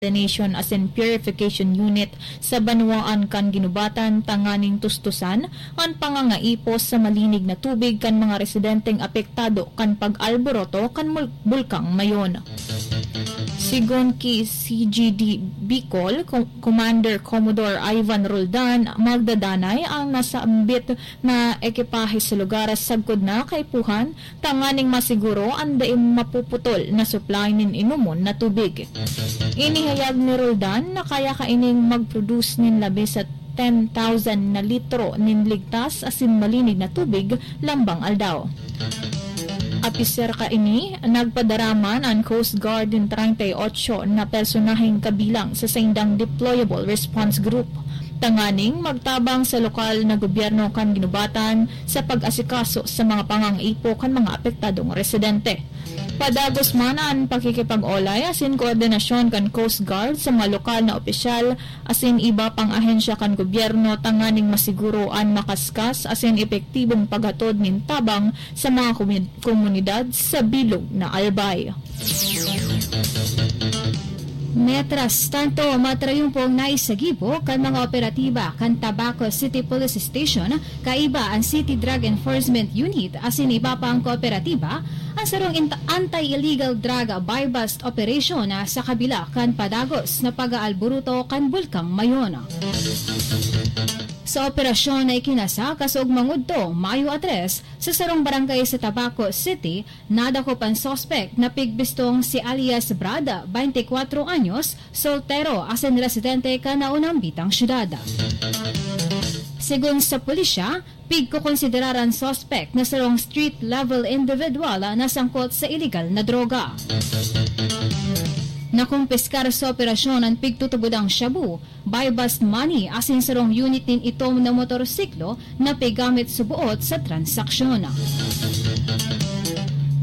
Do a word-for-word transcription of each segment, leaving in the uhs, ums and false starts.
Desalination asin Purification Unit sa banwaan kan Guinobatan tanganing tustusan an pangangaipo sa malinig na tubig kan mga residenteng apektado kan pag-alboroto kan mul-, Bulkang Mayon. Sigon ki C G D Bicol, Com-, Commander Commodore Ivan Roldan, magdadanay ang nasambit na ekipahe sa lugar sagkod na kaipuhan tanganing masiguro an dai mapuputol na supply nin inomon na tubig. Inihayag ni Roldan na kaya kaining mag-produce nin labi sa ten thousand na litro nin ligtas asin malinig na tubig lambang aldaw. Apisar kaini, nagpadaraman an Coast Guard nin treinta y ocho na personaheng kabilang sa saindang deployable response group tanganing magtabang sa lokal na gobyerno kan Guinobatan sa pag-asikaso sa mga pangangaipo kan mga apektadong residente. Padagos man an pakikipag-olay asin koordinasyon kan Coast Guard sa mga lokal na opisyal asin iba pang ahensya kan gobyerno tanganing masiguro an makaskas asin epektibong paghatod nin tabang sa mga komi-, komunidad sa bilog na Albay. Mientras tanto, matrayumpong naisagibo kan mga operatiba kan Tabaco City Police Station, kaiba an City Drug Enforcement Unit asin iba pang kooperatiba, an sarong int-, anti-illegal drug buy-bust operation na sa kabila kan padagos na pag-aalburuto kan Bulkang Mayon. Sa operasyon na ikinasa kasoog mangudto, Mayo a tres, sa sarong barangay sa Tabaco City, nadakop an suspek na pigbistong si alias Brad, twenty-four anyos, soltero, asin residente kan naunang bitang syudad. Segun sa pulisya, pigkokonsiderar an suspek na sarong street-level individual na sangkot sa iligal na droga. Nakumpiskar sa operasyon an pigtutubodang shabu, buy-bust money asin sarong unit nin itom na motorsiklo na pigamit suboot sa transaksyon.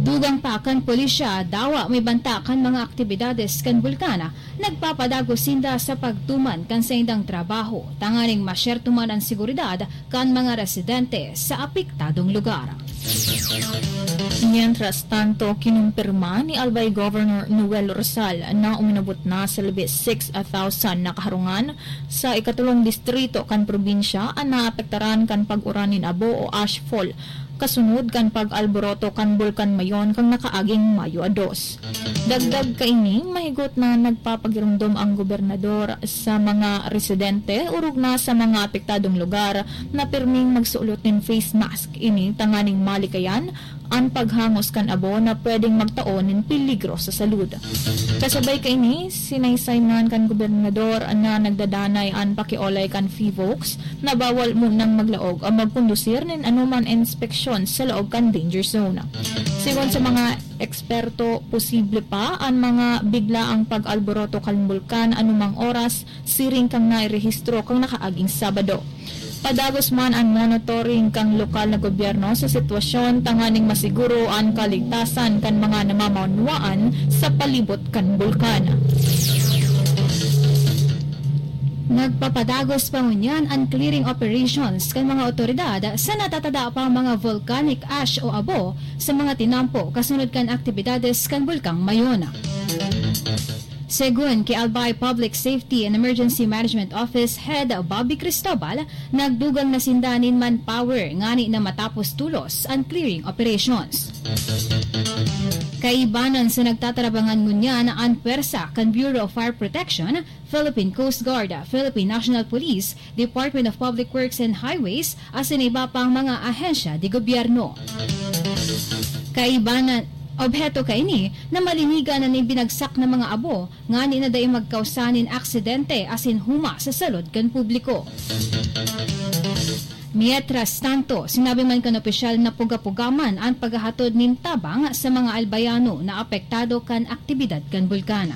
Dugang pa kan pulisya, dawa may banta kan mga aktibidades kan bulkan, nagpapadagos sinda sa pagtuman kan saindang trabaho, tanganing masyerto man an seguridad kan mga residente sa apektadong lugar. Mientras tanto, kinumpirma ni Albay Governor Noel Rosal na uminabot na sa labi six thousand na kaharungan sa ikatulong distrito kan probinsya an naapektaran kan pag-uran nin abo o ashfall, kasunod kan pag-alboroto kan Bulkan Mayon kan nakaaging Mayo a dos. Dagdag kaini, mahigot na nagpapagiromdom ang gobernador sa mga residente, orog na sa mga apektadong lugar, na pirming magsulot nin face mask ini tanganing malikayan an paghangos kan abo na pwedeng magtao nin peligro sa salud. Kasabay kaini, sinaysay man kan gobernador na nagdadanay an pakiolay kan PHIVOLCS na bawal munang maglaog o magkondusir nin anoman inspeksyon sa laog kan danger zone. Sigon sa mga eksperto, posible pa an mga biglaang pag-alboroto kan bulkan anumang oras, siring kan nairehistro kan nakaaging Sabado. Padagos man an monitoring kan lokal na gobyerno sa sitwasyon tanganing masiguro an kaligtasan kan mga namamanwaan sa palibot kan bulkan. Nagpapadagos pa ngunyan an clearing operations kan mga otoridad sa natatada pang mga volcanic ash o abo sa mga tinampo kasunod kan aktibidades kan Bulkang Mayon. Segun ki Albay Public Safety and Emergency Management Office Head Bobby Cristobal, nagdugang na sinda nin manpower ngani na matapos tolos an clearing operations. Kaibanan sa nagtatarabangan ngunyan an pwersa kan Bureau of Fire Protection, Philippine Coast Guard, Philippine National Police, Department of Public Works and Highways, asin iba pang mga ahensya de gobyerno. Kaibanan, obheto kaini na malinigan an ibinagsak na mga abo ngani na dai magkausa nin aksidente asin huma sa salud kan publiko. Mientras tanto, sinabi man kan opisyal na puga-puga man an paghahatod nin tabang sa mga Albayano na apektado kan aktibidad kan bulkan.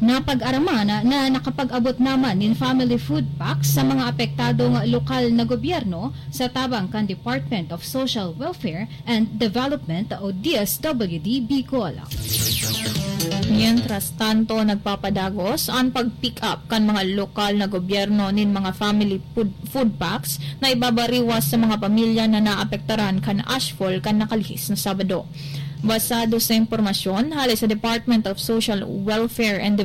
Napag-araman na nakapag-abot naman nin family food packs sa mga apektadong lokal na gobyerno sa tabang kan Department of Social Welfare and Development o D S W D Bicol. Mientras tanto, nagpapadagos an pag-pick up kan mga lokal na gobyerno nin mga family food, food packs na ibabariwas sa mga pamilya na naapektaran kan ashfall kan nakalihis na Sabado. Basado sa impormasyon hale sa Department of Social Welfare and Development,